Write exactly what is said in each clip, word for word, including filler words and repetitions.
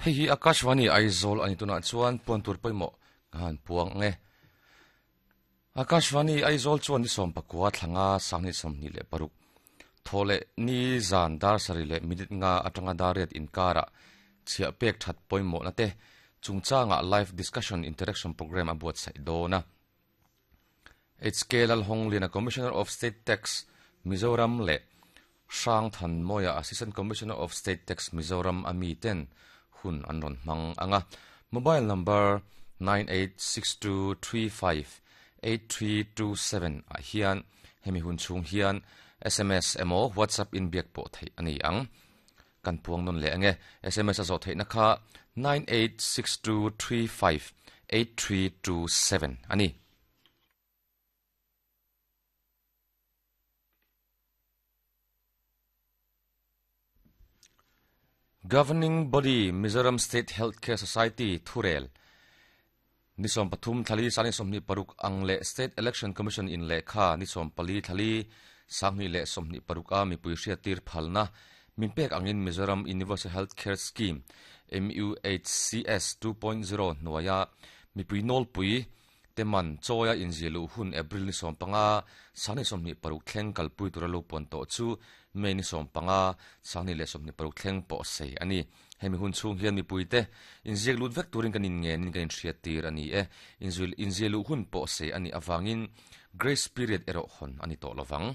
Hei hi Akashvani Aizawl ani tunah chuan puan tur pawimawh ka han puang ang e. Akashvani Aizawl chuan ni sawm pakua thlanga sanghnih sawmhnih leh paruk thaw leh ni zan dar sarih leh minute nga atanga dar riat inkarah chhiah pek that pawimawhna te chungchangah live discussion interaction program a buatsaih dawn a. H K Lalhongliana Commissioner of State Tax Mizoram leh Hrang Thanmawia Assistant Commissioner of State Tax Mizoram a mi ten hun an rawn hmang ang a. Mobile number nine eight six two three five eight three two seven ah hian hemi hun chhung hian S M S emaw WhatsApp in biak pawh theih a ni ang. Kan puang nawn leh ang e. S M S a zawh theihna kha nine eight six two three five eight three two seven a ni. Governing Body Mizoram State Healthcare Society thurel ni sawm pathum thali sangni sawmhnih paruk ang leh State Election Commission in lehkha ni sawm pali thali sanghnih leh sawmhnih paruk a mipui hriattir phalna min pek angin Mizoram Universal Healthcare Scheme M U H C S two point zero hnuaia mipui nawlpui teman chawia inzilu hun April ni sawm panga sangni sawmhnih paruk thleng kalpui tura lo puan tawh chu May ni sawm panga sangni leh sawmhnih paruk thleng pawh sei a ni. Hemi hun chhung hian mipuite inziak lut vek turin kan inngenin kan inhriattir a ni e. Inzil inzialu hun pawh sei a nih avangin grace period erawh hawn a ni tawh lovang.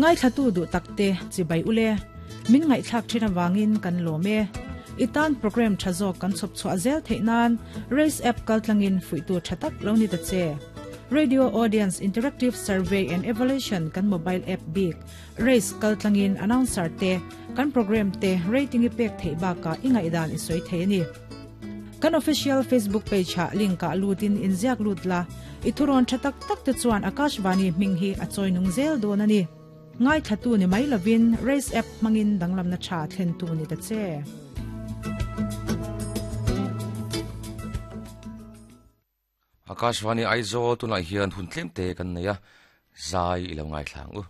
Ngai thlatu du takte chibai ule min ngai thlak thina wangin kan lome itan program thazo kan chop chwa zel theinan race app kaltlangin fuitu thatak lo ni ta che radio audience interactive survey and evaluation kan mobile app big race kaltlangin announcer te kan program te rating i pek thei ba ka ingai dan i soi thei ni kan official Facebook page ha link ka lutin inziak lutla ithuron thatak tak te chuan Akashvani minghi a choinung zel don ani ngai thatu ni mai lovin race app mangin danglam na tha thlen tu ni ta che. Akashvani Aizawl tunah hian hun tlem te kan nei a zai ilo ngai thlang u.